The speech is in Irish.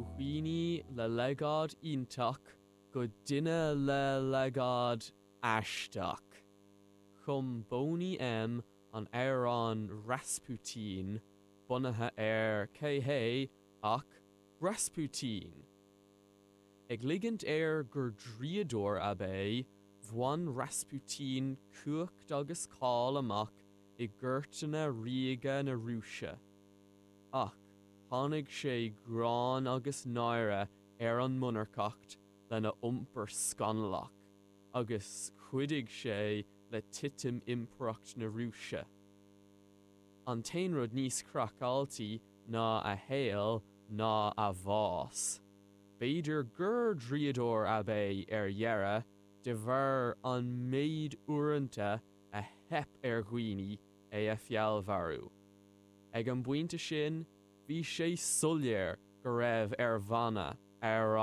Ó dhaoine le legáid iontach go duine le legáid aisteach. Chum Boney M an amhrán Rasputin, bunaithe ar cé hé ach Rasputin! Ag ligint air gur draíodóir ab é, bhain Rasputin cumhacht agus cáil amach i gcúirteanna ríoga na Rúise. Ach tháinig sé gráin agus náire ar an monarcacht lena iompar scannalach, agus chuidigh sé le titim Impireacht na Rúise. An t-aon rud níos craiceáiltí ná a shaol ná a bhás. B'fhéidir gur draíodóir ab é ar dheireadh, de bharr an méid uaireanta a theip ar dhaoine é a fheallmharú. Ag an bpointe sin, bhí sé soiléir go raibh ar bhanna amhrán.